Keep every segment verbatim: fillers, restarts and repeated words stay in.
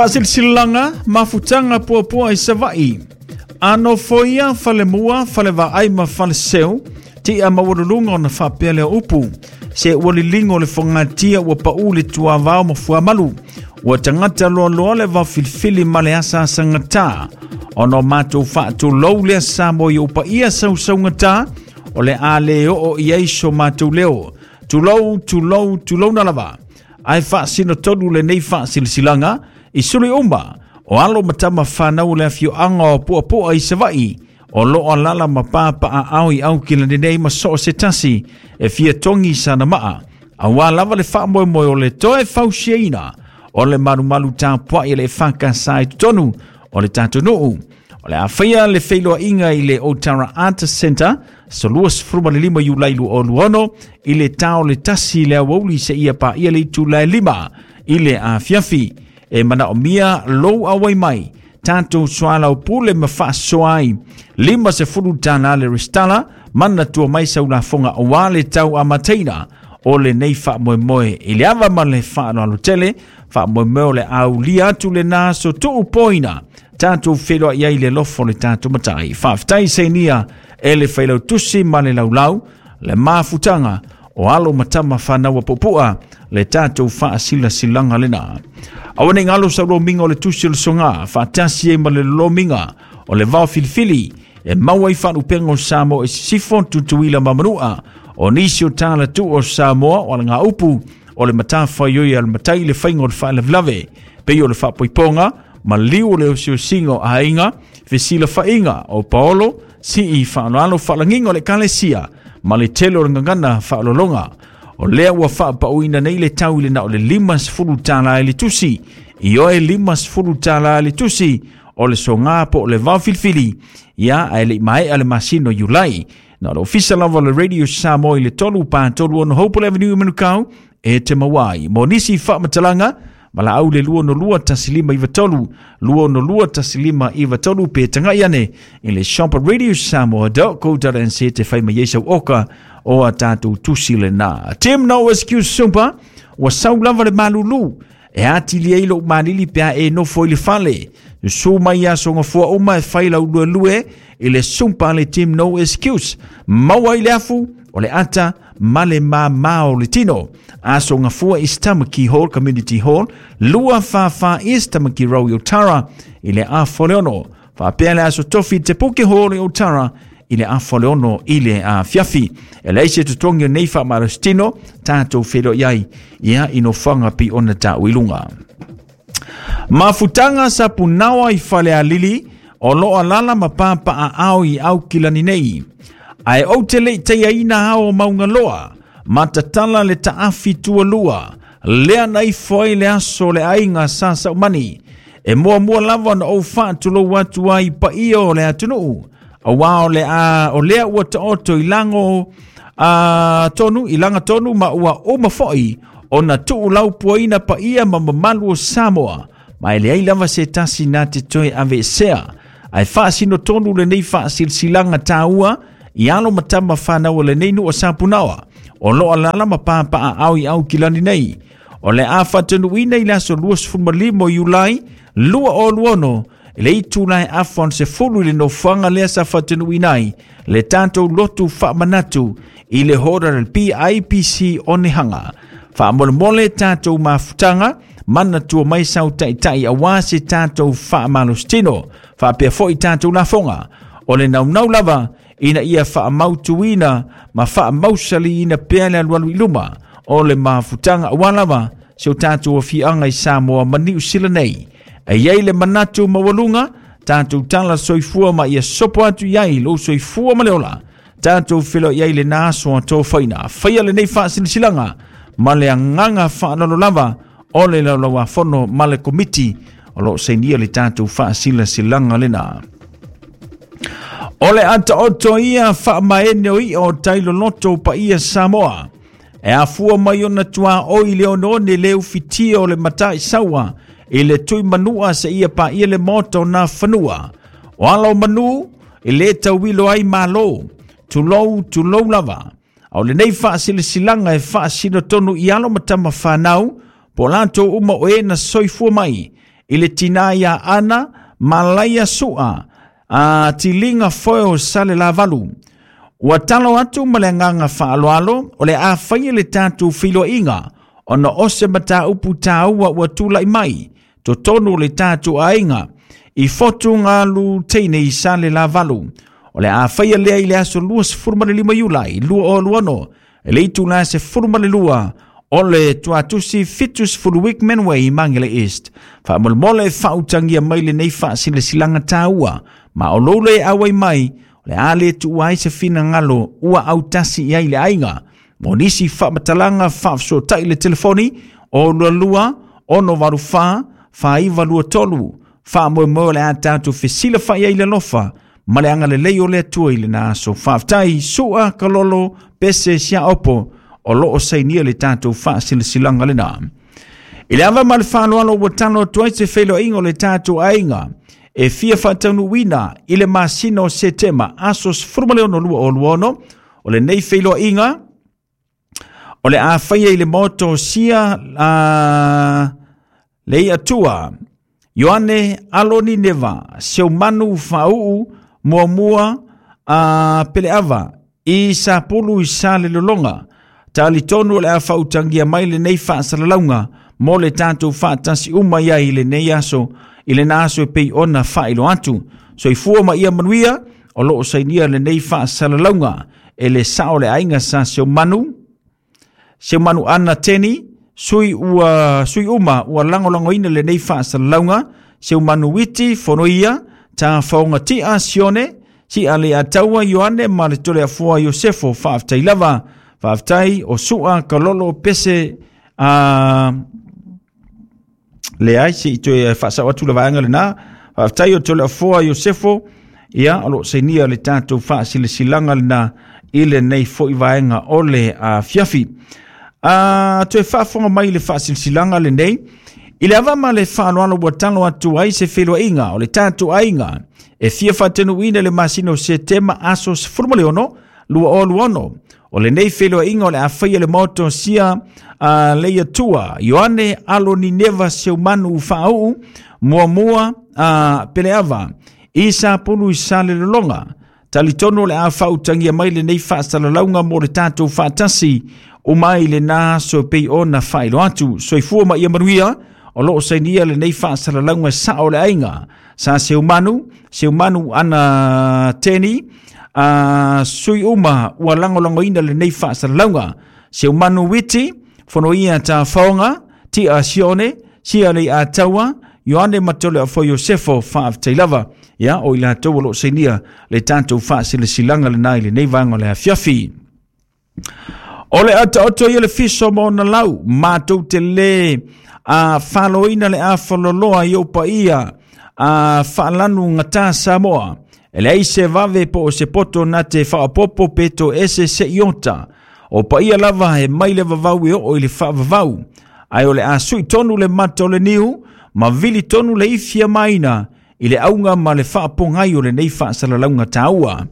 Faasilasilaga mafutaga puapua i Savaʻi. A nofoia falemua, falevaai ma faleseu, ti'a maualuluga ona faapea lea upu. Se ua liligo le fogatia ua paʻu le tuavao ma fuamalu. Ua tagata loaloa le vaofilifili ma le asaasagatā. Ona o matou faatulou lea Samoa i ou paia sausaugatā, o le a lē oo i ai so matou leo. Tulou, tulou, tulouna lava. Ae faasino tonu lenei faasilasilaga i suli uma o alo ma tama fanau o le afioaga o Puapua i Savaʻi o loo alala ma papaaao i Aukilani nei ma so o se tasi e fia togi sana maa auā lava le faamoemoe o le toe fausiaina o le malumalu tapuaʻi a le E F K S i totonu o le tatou nuu. O le a faia le feiloaiga i le Otara Art Center aso luasefulumalima Iulai luaoaluaono i le tao le tasi le auauli seia paia le itula e lima i le afiafi. E manaomia lou auai mai tatou soalaupule ma faasoa ai. Lima sefulu tālā le restala. Manatua mai sau lafoga auā le tau amataina o lenei faamoemoe. I le ava ma le faaaloalo tele, faamoemoe o le aulia atu lenā aso tuu poina tatou feiloai ai i le lofo o le tatou Matai. Faafetai sainia e le failautusi ma le laulau le mafutaga o alo ma tama fanau a Puapua le tatou faasilasilaga lenā. Aua nei galo sau lomiga o le tusi o le sogā faatasi ai ma le lomiga o le vao filifili e maua ai faalupega o Samoa i Sisifo, Tutuila ma Manua. O nisi o talatuu o Samoa o alagaupu o le matafaioi a le matai le faiga o le faalavelave pei o le faapoipoga ma liu o le osiosiga o aiga fesilafaiga o paolo sii faaaloalo faalagiga o le ekalesia ma le tele o le gagana faalologa. O lea ua faapauina nei le tau i le na o le lima sefulu tālā i le tusi. Ioe, lima sefulu tālā i le tusi o le sogā po o le vao filifili ia, ae leʻi maea le masina o Iulai. Na o le ofisa lava o le Radio Samoa i le tolu pa tolu ono Hopewell Avenue i Manukau e te maua ai. Mo nisi faamatalaga, valaau le lua ono lua tasi lima iva tolu, lua ono lua tasi lima iva tolu, pe tagai ane i le shop radio samoa dot co dot n z te fai mai ai sau oka o a tatou tusi lenā. Team No Excuse Super, ua sau lava le malulu e atili ai lou malili pe a e nofo i le fale. Susu mai aso gafua uma e fai lau luelue i le sumpa le Team No Excuse. Maua ai le afu o le ata ma le māmā o le tino. Aso gafua i Tamaki Hall Community Hall, lua fa fa East Tamaki Road i Otara i le afa o le ono. Faapea le aso tofi Te Puke Hall i Otara i le afa o le ono i le afiafi. E leai se totogi o nei faamalositino, tatou feiloai ai ia i nofoaga pei ona taua i luga. Mafutaga sapunaoa i Falealili o loo alala ma papaaao i Aukilani nei. Ae ou te lei taiaina ao o Maugaloa, ma tatala le taafi tualua, lea na ifo ai le aso o le aiga Sa Saumani. E muamua lava ona ou faatulou atu ai i paia o le atunuu, auā o le a, o lea ua taoto i lago a, tonu, i laga tonu ma ua uma foi ona tuu laupuaina paia ma mamalu o Samoa. Ma e leai lava se tasi na te toe aveesea. Ae faasino tonu lenei faasilasilaga tāua i alo ma tama fanau o lenei nuu o Sapunaoa o loo alala ma papaaao i Aukilani nei. O le a faatanuuina i le aso luasefulumalima o Iulai lua o luaono i le itula e afa ona sefulu i le nofoaga lea sa faatanuuina ai le tatou lotu faamanatu i le hora le P I P C Onehanga. Faamolemole tatou mafutaga, manatua mai sau taʻitaʻi auā se tatou faamalositino faapea foʻi tatou lafoga. O le naunau lava ina ia faamautuina ma faamausaliina pea le alualu i luma o le mafutaga auā lava se o tatou afiaga i Samoa ma Niu Sila nei. E iai le manatu maualuga tatou tala soifua ma ia sopo atu i ai lou soifua ma le ola. Tatou feiloai ai lenā aso a tofaina. Faia lenei faasilasilaga ma le agaga faaaloalo lava o le laulauafono ma le komiti o loo sainia le tatou faasilasilaga lenā. O le ataoto ia faamaene o ia o tailoloto paia Samoa. E afua mai ona tua oi le oneone le ufitia o le matai saua i le tui manua se ia pa ia le maota o nā fanua. O ala o manu i le tauilo ai malo. Tulou, tulou lava. A o lenei faasilasilaga e faasino tonu i alo ma tama fanau, po latou uma o e na soifua mai I le tina ia Ana Malaia Sua a tiliga foe o Salelavalu. Ua talo atu ma le agaga faaaloalo o le a faia le tatou feiloaiga ona o se mataupu taua ua tulai mai totonu o le tatou aiga i Fotugalu teine i Salelavalu. O le a faia lea i le aso luasefulumalima Iulai lua o lua e le itula sefulumalua o le tuatusi fitusefulu Wickman Way Mangere East. Faamolemole faautagia mai lenei faasilasilaga taua ma o lou le auai mai o le a le tuua ai se finagalo ua autasi i ai le aiga. Mo nisi faamatalaga faafesootai le telefoni o lua lua ono valu fa faaiva lua tolu. Faamoemoe o le a tatou fesilafai ai le alofa ma le agalelei o le Atua i lena aso. Faafetai Sua Kalolo Pese Siaopo o loo sainia le tatou faasilasilaga lena. I le ava ma le faaaloalo ua talo atu ai se feiloaiga o le tatou aiga e fia faataunuuina i le masina o Setema aso sefulu ma le ono lua o lua ono. O lenei feiloaiga o le a faia i le maota o sia a le Atua Ioane Aloni Neva Seumanu Faauu Muamua a Peleava i Sapulu i Salelologa. Talitonu o le a faautagia mai lenei faasalalauga mo le tatou faatasi uma iai i lenei aso i lena aso e pei ona faailoa atu. Soifua ma ia manuia. O loo sainia lenei faasalalauga e le sao le aiga sa Seumanu Seumanu Ana Teni sui ua sui uma ua lagolagoina lenei faasalalauga Seumanu Witi Fonoia ta faogatia Sione si ale ataua Ioane ma le Toleafoa Iosefo. Faafetai lava. Faafetai o Sua Kalolo Pese a leai se i toe faasao atu le vaega lena. Faafetai o Toleafoa Iosefo ia o loo sainia le tatou faasilasilaga lena i lenei foi vaega o le afiafi. A toe faafofoga mai le faasilasilaga lenei i le ava ma le faaaloalo ua talo atu ai se feiloaiga o le tatou aiga e fia faataunuuina le masina o Setema aso sefulu ma le ono lua o lua ono. O lenei feiloaiga o le a faia le maota o sia a Leiatua Ioane Aloni Neva Seumanu Faauu Muamua a Peleava i Sapulu i Salelologa. Talitonu o le a faautagia mai lenei faasalalauga mo le tatou faatasi uma i lena aso pei ona faailoa atu. Soifua ma ia manuia. O loo sainia lenei faasalalauga sao le aiga sa Seumanu Seumanu Ana Teni a sui uma ua lagolagoina lenei faasalalauga Seumanu Witi Fonoia ta faoga Tia Sione Sia le Ataua Ioane Matole afo Iosefo. Faafetai lava ia o i latou o loo sainia le tatou faasilasilaga lena i lenei vaega o le afiafi. O le ataoto ia le fiso ma ona lau matou te lē a faloina le afaloloa i ou paia a faalanu gata Samoa. E leai se vave po o se poto na te faaopopo pe to ese se iota. O paia lava e mai le vavau e oo i le faavavau. Ae o le a sui tonu le mata o le niu ma vili tonu le ifia maina i le auga ma le faapogai o lenei faasalalauga taua.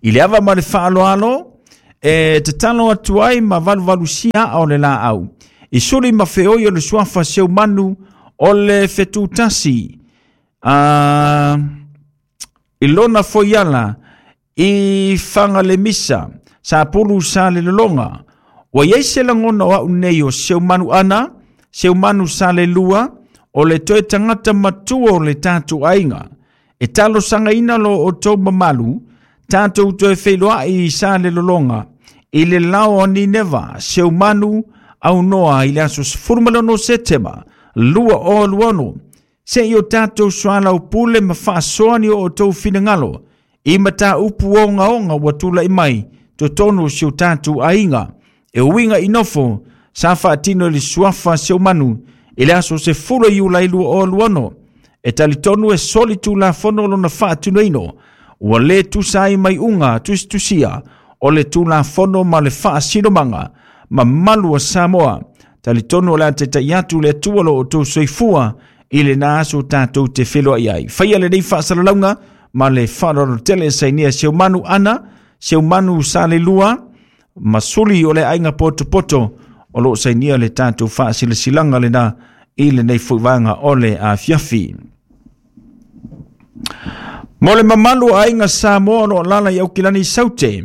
I le ava ma le faaaloalo e tatalo atu ai ma valuvalusia aa o le laau. I suli ma feoi o le suafa Seumanu o le fetutasi a i lona foiala i Fagalemisa Sapulu Salelologa. Ua iai se lagona o au nei o Seumanu Ana Seumanu Salelua o le toe tagata matua o le tatou aiga. E talosagaina lo outou mamalu tatou toe feiloai i Salelologa i le lao o Nineva Seumanu aunoa i le aso sefulu ma le ono Setema lua o lua ono. Se i o tatou soalaupule ma faasoa ni o outou finagalo i mataupu ogaoga ua tulai mai totonu o si o tatou aiga. E uiga i nofo sa faatino i le suafa Seumanu i le aso sefulu Iulai lua o lua ono. E talitonu e soli tulafono lona faatinoina ua lē tusa ai mai uga tusitusia o le tulafono ma le faasinomaga mamalu a Samoa. Talitonu o le a taitai atu le Atua lo outou soifua i lena aso tatou te feloai ai. Faia lenei faasalalauga ma le faaaloalo tele sainia Seumanu Ana Seumanu Salelua ma suli o le aiga potopoto o loo sainia le tatou faasilasilaga lena I lenei foi vaega o le afiafi. Mo le mamalu o aiga Samoa o lo o alaala i Aukilani i Saute,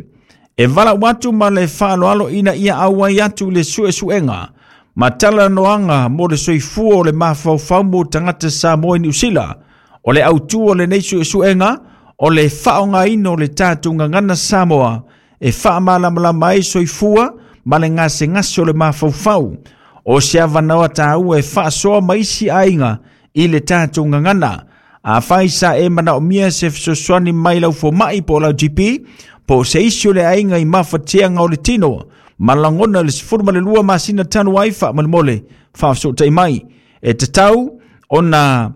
e valaau atu ma le faaaloalo ina ia auai atu i le suesuega ma talanoaga mo le soifua o le mafaufau mo tagata Samoa i Niu Sila. O le autū o lenei suesuega o le faaaogaina o le tatou gagana Samoa e faamalamalama ai soifua ma le gasegase o le mafaufau. O se avanoa taua e faasoa ma isi aiga i le tatou gagana. Afai sa e manaomia se fesoasoani mai lau fomai po o lau G P, po o se isi o le aiga i mafatiaga o le tino, ma lagona le sefulu ma le lua masina talu ai faamolemole faafesootai mai. E tatau ona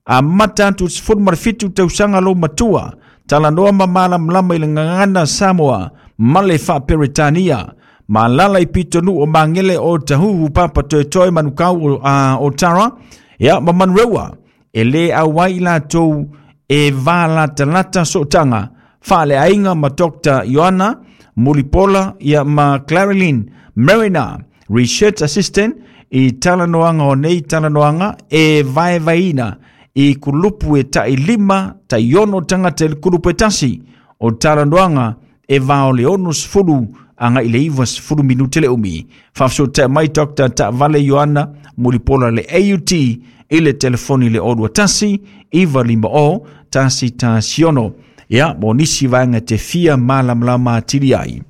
amata atu sefulu ma le fitu tausaga lou matua, talanoa ma malamalama i le gagana Samoa ma le faaperetania. Ma alaala i pitonuu o Magele o Tahuhu Papatoetoe Manukau o Tara, ia ma Manurewa. E lē auai i latou e valatalata sootaga faaleaiga ma Doctor Ioana Mulipola ia ma Clarilyn Mariner, Research Assistant, i talanoaga o nei talanoaga e vaevaeina i kulupu e tai lima tai ono tagata i le kulupu e tasi. O talanoaga e va o le ono sefulu agai i le iva sefulu minute le umi. Faafesootai mai Doctor Taavale Ioana Mulipola le A U T i le telefoni le o lua tasi, iva lima o, tasi tasi ono. Ia, mo nisi vaega te fia malamalama atili ai.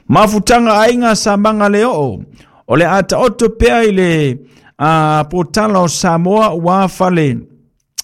Mafutaga aiga Samaga le oo, o le a taoto pea i le a, potala o Samoa ua fale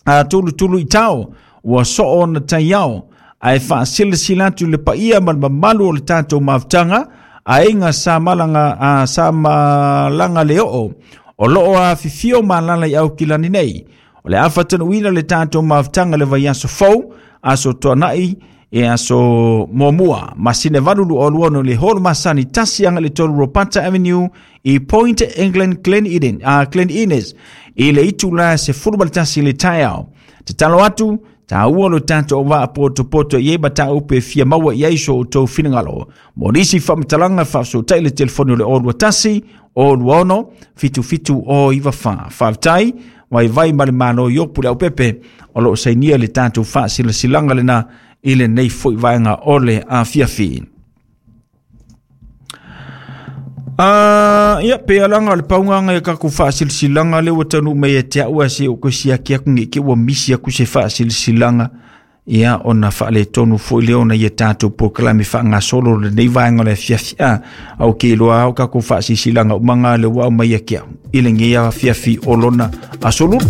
a, tulutulu i tao, ua soo ona taiao, ae faasilasila atu le paia ma le mamalu o le tatou mafutaga aiga Samalaga, a, Samalaga le oo, o loo afifio ma alaala i Aukilani nei. O le a faatanuuina le tatou mafutaga le vaiaso fou, aso tuanai e aso muamua, masina valu lua lua ono le holo masani tasi aga le tolu Ropata Avenue i Point England Glen Eden, uh, Glen Innes, i le itula sefulu ma le tasi le taeao. Tatalo atu, taua lo tatou vaapotopoto i ai mataupu e fia maua i ai so outou finagalo. Mo nisi faamatalaga faafesootai le telefoni o le o lua tasi, o lua ono, fitu fitu o iva fa. Faafetai, vaivai ma le malo i opu le aupepe, o loo sainia le tatou faasilasilaga lena i lenei foi vaega o le afiafi. Ah, ia pe alanga o le paugaga e kakou faasilasilaga le ua taunuu mai ia te au ae se o koe siaki aku ge ke ua misi aku se faasilasilaga ia ona faaletonu foi lea ona ia tatou polokalame faagasolo lenei vaega o le afiafi. A au ke iloa ao kakou faasilasilaga umaga le ua aumai ia ke au i lenei afiafi o lona aso lulu.